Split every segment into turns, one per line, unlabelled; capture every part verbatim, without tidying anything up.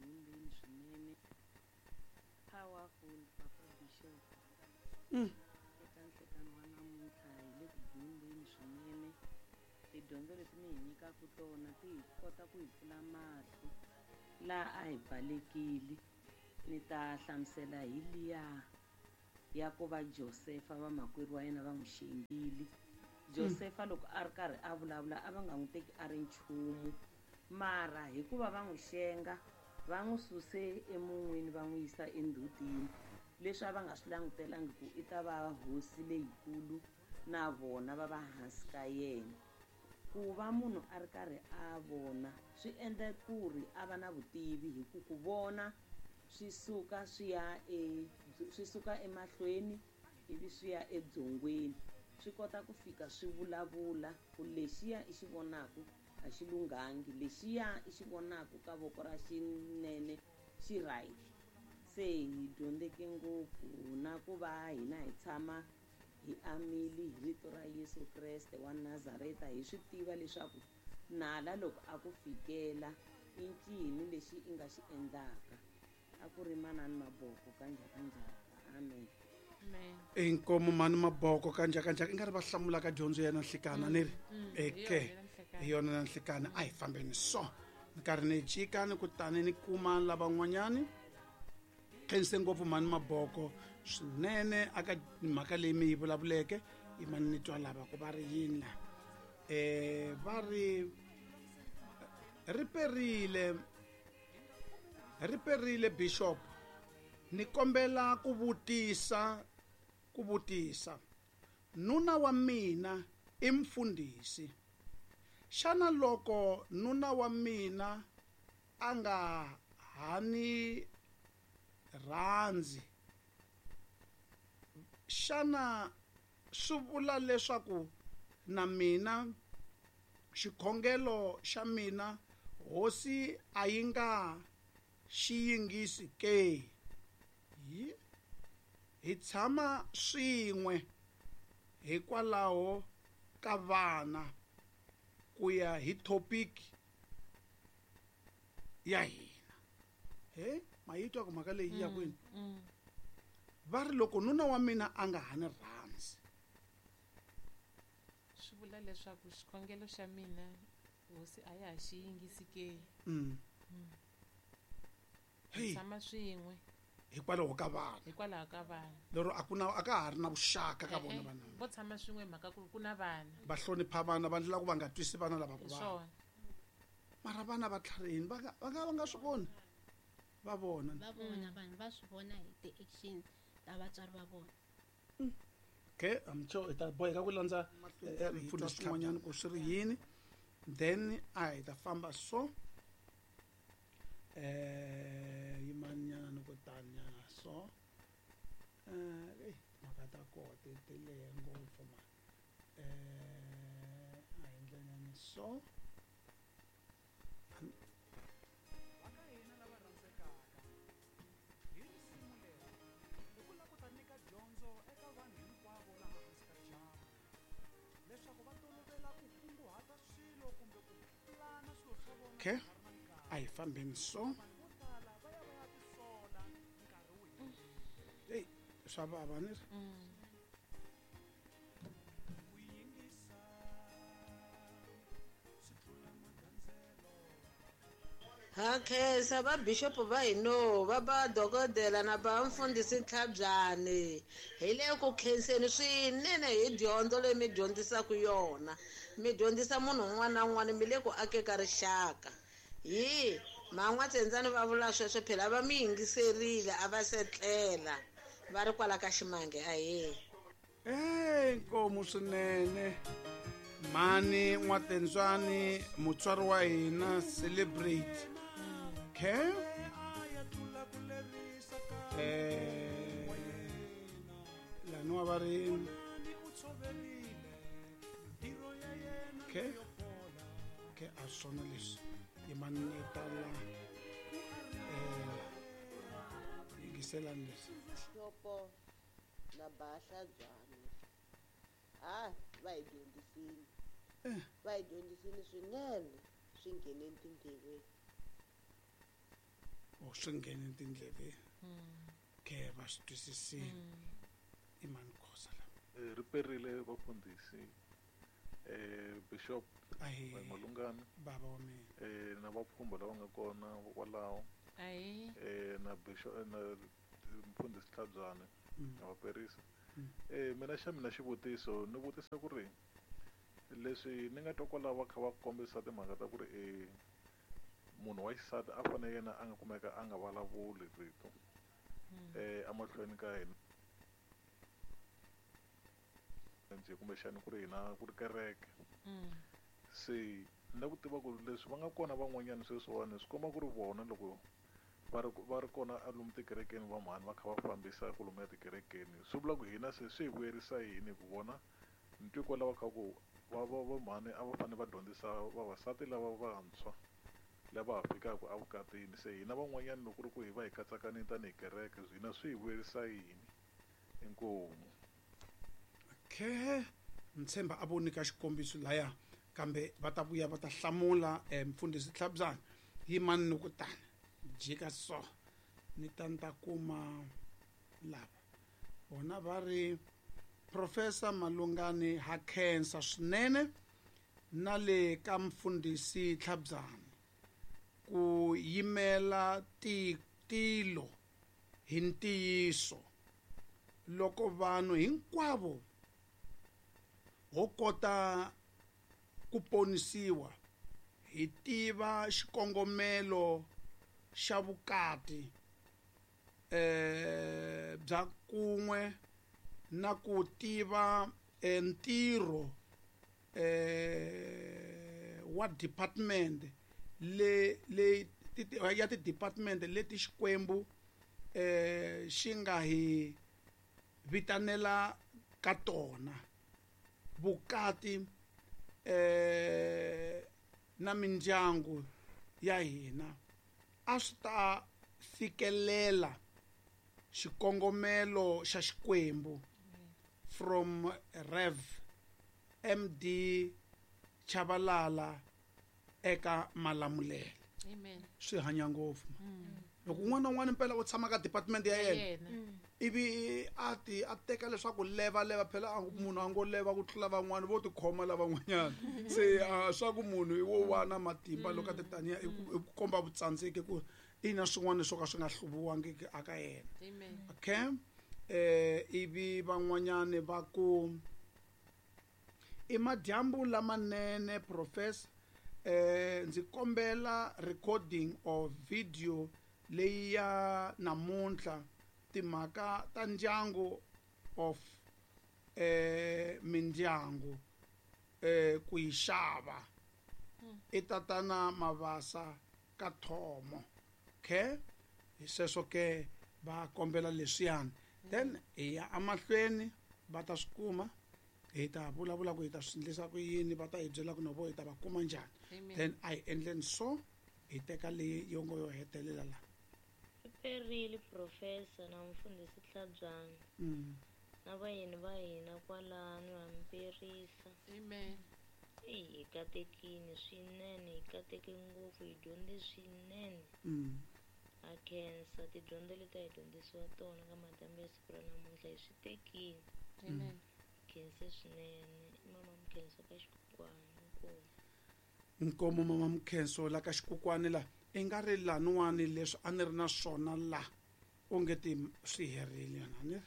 dyondzeni swinene. Powerful Papa Bishop.
Mm.
Eka nhlekani wa namuntlha hi le ku dyondzeni swinene. Tidyondzo leti mi hi nyikaka tona ti hi kota ku hi pfula mahlo laha a hi pfalekile. Ni ta hlamusela hi liya ya ku va Josefa vamakwerhu wa yena va n'wi xengile. Josefa loko a ri karhi a vulavula a va nga n'wi teki a ri nchumu, mara hikuva va n'wi xenga va n'wi suse emun'wini va n'wi yisa endzhutini, leswi a va nga swi langutelangi ku i ta va hosi leyikulu na vona va va hansi ka yena. Ku va munhu a ri karhi a vona swi endla ku ri a va na vutivi, hi ku ku vona swi suka swi ya e, swi suka emahlweni ivi swi ya edzongweni, swi kota ku fika swi vulavula ku lexiya i xi vonaku a xi lunghangi, lexiya i xi vonaku ka voko ra xinene xi right. Se hi dyondzeke ngopfu na ku va hina hi tshama hi amile hi rito ra Yesu Kreste wa Nazareta, hi swi tiva leswaku nala loko a ku fikela i ncini lexi i nga xi endlaka. A ku ri manani Maboko ka njhakanjhaka. Amen.
Inkomo mani Maboko ka njhakanjhaka i nga ri va hlamula ka dyondzo ya nanhlikana ni ri eke hi yona nanhlikana. A hi fambeni so ni karhi ni jika ni kutani ni kuma lavan'wanyani. Khense ngopfu mani Maboko swinene aka mhaka leyi mi yi vulavuleke. I mani ni twa lava ku va ri yini la eh va ri ri perile ri perile Bishop, ni kombela ku vutisa ku vutisa nuna wa mina i mfundhisi, xana loko nuna wa mina a nga ha ni rhandzi, xana swi vula leswaku na mina xikhongelo xa mina hosi a yi nga xi yingisi ke? Hi hi tshama swin'we hikwalaho ka vana ku ya hi topic ya hina. He ma yi twa ku mhaka leyi ya kwini? Va ri loko nuna wa mina a nga ha ni rhandzi,
swi vula leswaku xikhongelo xa mina hosi a ya ha xi yingisi ke?
Mm.
Hi tshama swin'we
hikwalaho ka vana,
hikwalaho ka vana,
lero a ku na a ka ha ri na vuxaka ka vona vana.
Vo tshama swin'we mhaka ku ku na vana,
va hlonipha vana, va ndlela ku va nga twisi vana lava ku
vava.
Mara vana va tlharihini, va nga va nga va nga swi voni, va vona
va vona vanhu va swi vona hi ti-action ta vatswari va vona.
Okay, I'm sure hi ta boheka ku landza mfundhisi swin'wanyana ku swi ri yini, then a hi ta famba so eh yimanyana ni ku tanyana so eh eh mhaka ta koho ti ti lehe ngopfu ma eh a hi ndleleni so. Okay, a hi fambeni so. Hey, swa vava ni ri.
Ha khensa va bishop va hino va ba dokodela na ba mfundhisi Ntlhabyani, hi le ku khenseni swinene hi dyondzo leyi mi dyondzisaka yona. Mi dyondzisa munhu un'wana na un'wana, mi le ku akeka rixaka. Hi man'watsendzani va vula sweswo phela va mi yingiserile a va setlela va ri kwala ka ximange. Ahee.
Eh nkomu swinene mani N'watendzwani, mutswari wa hina, celebrate. Okay, eh laniwa va ri okay okay a swona leswi yimani ni tala eh yingiselani leswi.
Xopo na Bahlabyani ha va hi dyondzisile, va hi dyondzisile swinene, swi ngheneni tindleveni.
O swi nghene tindleveni. Ke va swi twisisile. I mani Khosa la?
Eh, ri perile vafundhisi eh Bishop
Ahee.
Malungana
Baba wa mina.
eh na vapfhumba lava nga kona kwalaho.
Ahee.
Eh na Bishop na mfundhisi Tlhabyane
Mm.
na vaperisa.
Mm.
Eh mina xa mina xivutiso ni vutisa ku ri leswi ni nga twa kwalaho va kha va kombisa timhaka ta ku ri eh munhu wa xisati a fanele yena a nga kumeka a nga vulavuli rito eh emahlweni ka hina njhe kumbexani ku ri hina ku ri kereke. Se ni ku tiva ku leswi va nga kona van'wanyana sweswiwani swi komba ku ri vona loko va ri va ri kona a lomu tikerekeni va mhani va kha va fambisa ku lomu ya tikerekeni swi vula ku hina se swi hi vuyerisa yini ku vona ni twi kwalaho kha ku va va va mhani a va fanele va dyondzisa vavasati lava vantshwa lava ha fikaka evukatini se hina van'wanyana loko ku ri ku hi va hi katsakanile tanihi kereke hina swi hi vuyerisa yini inkomu.
Okay, ntshemba a vo nyika xikombiso laya kambe va ta vuya va ta hlamula eh, mfundhisi Tlhabyana yimani ni ku tani jika so ni ta ni ta kuma lava vona va ri Professor Malungani ha khensa swinene na le ka mfundhisi Tlhabyana ku yimela ti tilo hi ntiyiso loko vanhu hinkwavo ho kota ku ponisiwa hi tiva xikongomelo xa vukati eh bya kun'we na ku tiva ntirho eh wa department le le ya ti department leti Xikwembu eh xi nga hi vitanela ka tona vukati eh na mindyangu ya hina a swi ta fikelela xikongomelo xa Xikwembu. From Rev M D Chabalala eka Malamulele.
Amen.
Swi hanya ngopfu. Loko un'wana na un'wana mpela u tshama ka department ya yena ivi a ti a teka leswaku leva leva phela munhu a ngo leva ku tlula van'wana vo tikhoma lavan'wanyana se swa ku munhu i wo wana matimba loko a ti taniya i ku komba vutsandzeki ku i na swin'wana swo ka swi nga hluviwangiki aka yena. Okay, eh ivi van'wanyani va ku i madyambu lamanene professor eh ndzi kombela recording of video leyi ya namuntlha timhaka ta ndyangu of eh mindyangu eh ku yi xava i tatana Mavasa ka Thomo. Okay, hi sweswo ke va kombela leswiyani then hi ya emahlweni va ta swi kuma hi ta vulavula ku hi ta swi endlisa ku yini va ta hi byela ku no vo hi ta va kuma njhani then a hi endleni so hi teka leyi yo ngo yo hetelela la.
Perile professor na mfundhisi Tlhabyana
mm.
na vayeni va hina kwalano ha mperisa.
Amen.
Eyi hi katekile swinene hi kateke ngopfu hi dyondze swinene.
Mm.
Ha khensa tidyondzo leti a hi dyondzisiwa tona ka madyambu ya siku ra namuntlha hi swi tekile.
Amen.
Khense swinene i mama Mkhenso ka Xikukwani. Inkomu.
Nkomo mama Mkhenso la ka Xikukwani la i nga ri laniwani leswi a ni ri na swona la onge ti swi herile yona ni ri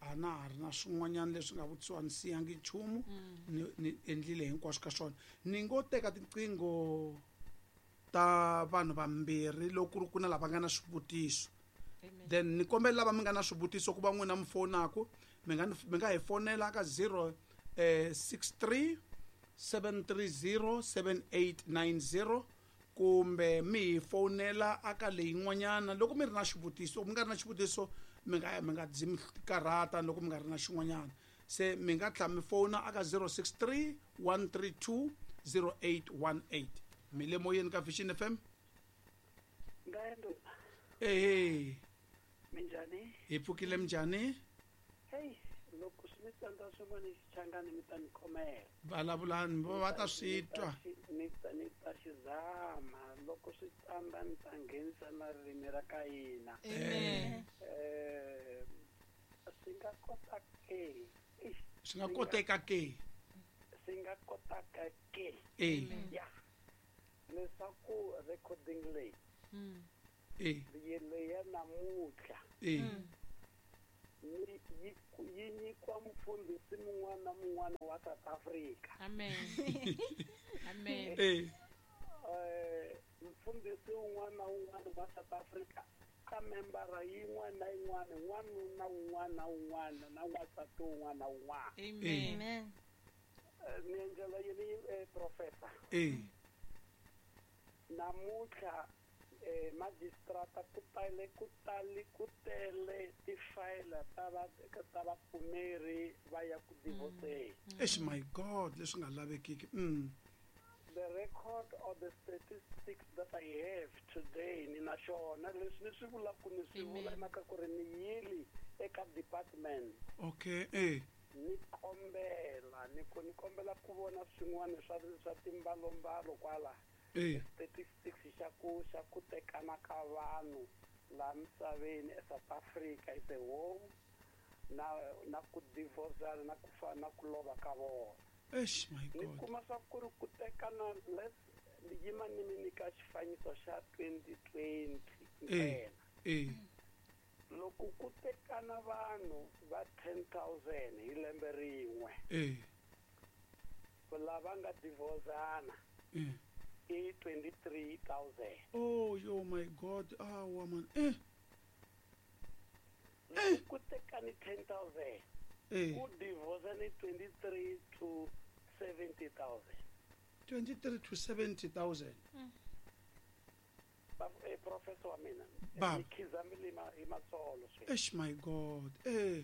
a na ha ri na swin'wanyana leswi nga vutisiwa ni siyangi nchumu ni ni endlile hinkwaswo ka swona. Ni ngo teka tiqingho ta vanhu vambirhi loko ku ri ku na lava nga na swivutiso then ni kombela lava mi nga na swivutiso ku va n'wina mi fonaku mi nga mi nga hi fonela ka zero six three seven three zero seven eight nine zero kumbe mi hi fonela aka leyin'wanyana loko mi ri na xivutiso mi nga ri na xivutiso mi nga mi nga dzi mi karhata loko mi nga ri na xin'wanyana se mi nga tlhela mi fona aka zero six three one three two zero eight one eight. Mi le moyeni ka Vision F M. Ehe.
Minjhani?
Hi pfukile minjhani?
Hey, loko swi mi tsandza swin'wana xichangani mi ta ni khomela.
Vulavulani va ta swi twa.
Ni ta ni ta xi zama loko Loko swi tsandza ni ta nghenisa na ririmi ra ka hina.
Amen.
Eh swi nga kota ke.
Swi nga koteka ke.
Swi nga kotaka ke.
Eh.
Ya. Leswaku recording leyi.
Mm.
Eh.
Leyi ya namuntlha.
Eh.
Ni yi yi nyikiwa mufundhisi mun'wana na mun'wana wa South Africa.
Amen. Amen.
Eh.
Eh mufundhisi un'wana na un'wana wa South Africa ka membara yin'wana na yin'wana n'wanuna un'wana na un'wana na n'wansati un'wana na un'wana.
Amen.
Amen.
Ni endlela yini eh, professor?
Eh.
Namuntlha eh magistrata ku tale ku tale ku tele tifayila ta va ta vapfumeri va ya ku divorceni.
Eish my God, leswi nga lavekiki. Mm.
The record or the statistics that I have today ni na xona leswi ni swi vulaka ni swi vula hi mhaka ku ri ni yili eka department.
Okay, eh.
Ni kombela ni ku ni kombela ku vona swin'wana swa swa timbalombalo kwala.
Eh.
Statistics xa ku xa ku tekana ka vanhu laha misaveni eSouth Africa is a whole na na ku divorcana na ku fa na ku lova ka vona.
Eish my
Ni
God.
kuma swa ku ri ku tekana let's ni yima ni mi nyika xifaniso xa twenty twenty
Eh.
ntsena.
Eh.
Loko ku tekana vanhu va ten thousand hi lembe rin'we.
Eh.
Lava nga divorcana
Eh.
i twenty-three thousand.
Oh, yo my God. Ah, woman. Eh.
Loko ku tekani ten thousand.
Eh.
Ku divorcana twenty-three to seventy thousand.
twenty-three to seventy thousand.
Eh, professor wa mina.
Baba.
Ni khizamile ma hi matsolo sweswi.
Eish my God. Eh.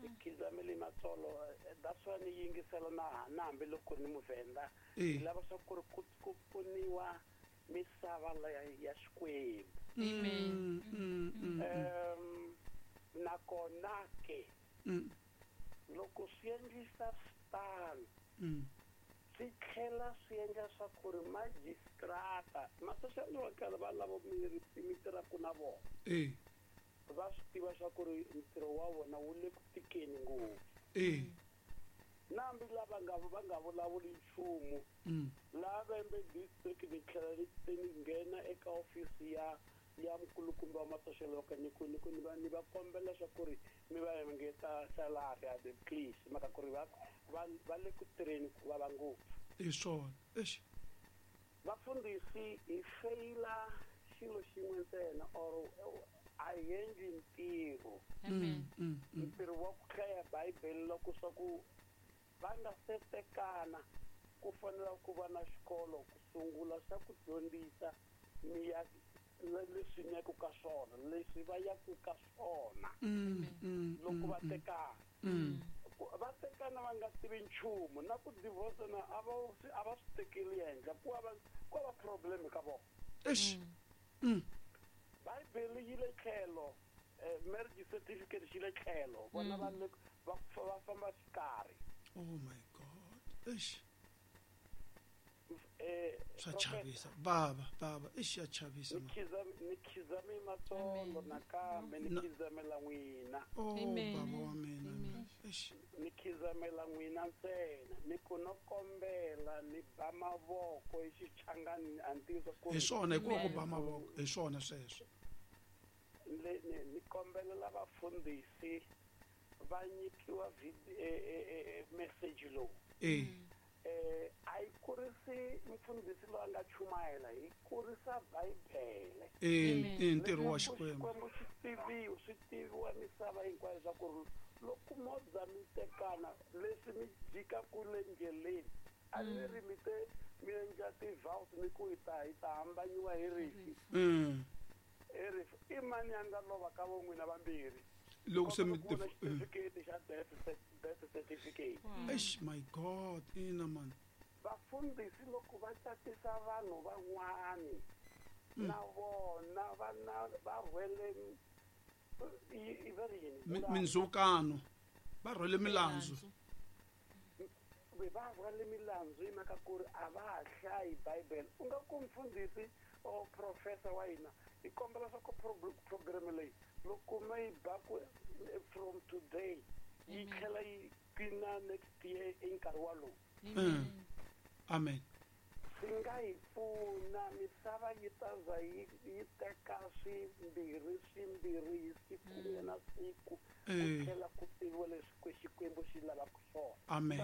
Ni khizamile matsolo. That's why ni yingisela na na hambi loko ni muvhenda.
Eh.
Ni lava swa ku ri ku ku pfuniwa misava leya ya Xikwembu.
Amen.
Mm, mm, mm,
Um nakona ke
mm,
loko swi endlisa switano
mm.
swi tlhela swi endla swa ku ri magistrata ma-social worker va lava mi mi tirhaka na vona
Eh.
va swi tiva swa ku ri ntirho wa vona wu le ku tikeni ngopfu.
Eh.
Na hambi lava nga va nga vulavuli nchumu
Mm.
laha Vhembe district ni tlhela ni ni nghena eka ofisi ya ya mukulukumba wa ma-social worker ni ku ni ku ni va ni va kombela swa ku ri mi va engeta salary a please mhaka ku ri va va va le ku tirheni ku vava ngopfu.
Hi swona. Eish.
Vafundhisi hi feyila xilo xin'we ntsena or a hi endli ntirho.
Amen.
Mm, mm.
Ntirho wa ku hlaya Bibele loko swa ku va nga se tekana ku fanele ku va na xikolo ku sungula xa ku dyondzisa mi ya leswi mi yaku ka swona leswi va yaku ka swona
Mm, mm,
loko va
mm,
tekana.
mm.
Va tekana va nga tivi nchumu na ku divorcana a va a va swi tekeli henhla ku va ku va problem ka vona.
Eish. Mm.
Bibele yi le tlhelo eh, marriage certificate xi le tlhelo vona va le va va famba xikarhi.
Oh my God. Eish.
Eh,
Swa
Professor,
chavisa. Baba, baba. Eish ya chavisa
ni
man.
khizame ni khizame matsolo nakambe ni
Na-
khizamela n'wina.
Oh,
Amen.
baba wa mina.
Amen.
Eish.
Ni khizamela n'wina ntsena ni ku no kombela ni ba mavoko hi xichangani a ni tivi ku
Hi swona hikuva ku
Amen.
ba mavoko. Hi swona sweswo.
le- ni ni kombelela vafundhisi va nyikiwa vid- eh, eh, eh, message lowu.
Eh.
Eh a yi kurisi mfundhisi loyi a nga chumayela hi kurisa Bibele.
Eh,
Amen.
eh, ntirho wa
Leswaku
Xikwembu.
Xikwembu xi tiviwa swi tiviwa misava hinkwayo swa ku ri loko mo za mi tekana leswi mi jikaku le ndleleni a ni ri mi te mi endla ti-vows mi ku hi ta hi ta hambanyiwa hi rifi
Mm.
hi rifu i mani a nga lova ka vo n'wina vambirhi
Loko se mi
Kombela ku vona
eh.
xitifiketi xa death cer- death certificate.
Eish my God, ina man.
Vafundhisi loko va catisa vanhu van'wani na vona va na va rhwele i- i va ri yini?
Mi- Mindzhukano. Va rhwele milandzu.
Kumbe va rhwale milandzu hi mhaka ku ri a va ha hlayi bibele. U nga ku mfundhisi or professor wa hina, hi kombela swa ku program leyi loko ma yi ba ku from today yi tlhela yi pina next year i nkarhi walowu.
Amen.
Swi nga hi pfuna, misava yi ta za yi yi teka swimbirhi swimbirhi hi siku na siku, ku tlhela ku tiviwa leswi Xikwembu xi lavaka swona.
Amen.